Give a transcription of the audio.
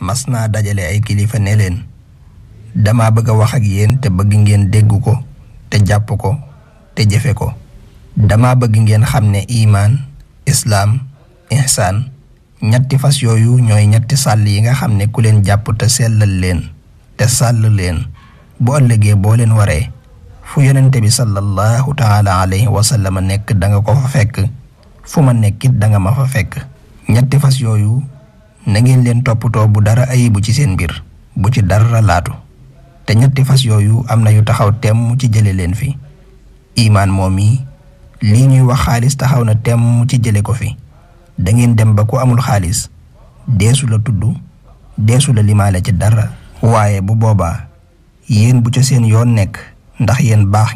mas naa dajale ay kilifa ne leen dama bëgg a wax ak yéen te bëgg ngeen dégg ko te jàpp ko te jëfe ko. dama bëgg ngeen xam ne imaan islaam ihsaan ñetti fas yooyu ñooy ñetti sàll yi nga xam ne ku leen jàpp te sellal leen te sàll leen bu ëllëgee boo leen waree fu yonente bi sallallahu taala alayhi wa sallam nekk da nga ko fa fekk fu ma nekkit da nga ma fa fekk. ñetti fas yooyu na ngeen leen toppatoo bu dara ayibu ci seen mbir bu ci dara laatu te ñetti fas yooyu am na yu taxaw temm ci jële leen fi. imaan moom yi lii ñuy wax xaalis taxaw na temm ci jële ko fi. da ngeen dem ba ku amul xaalis deesu la tudd deesu la limaale ci dara waaye bu boobaa yéen bu ca seen yoon nekk ndax yéen baax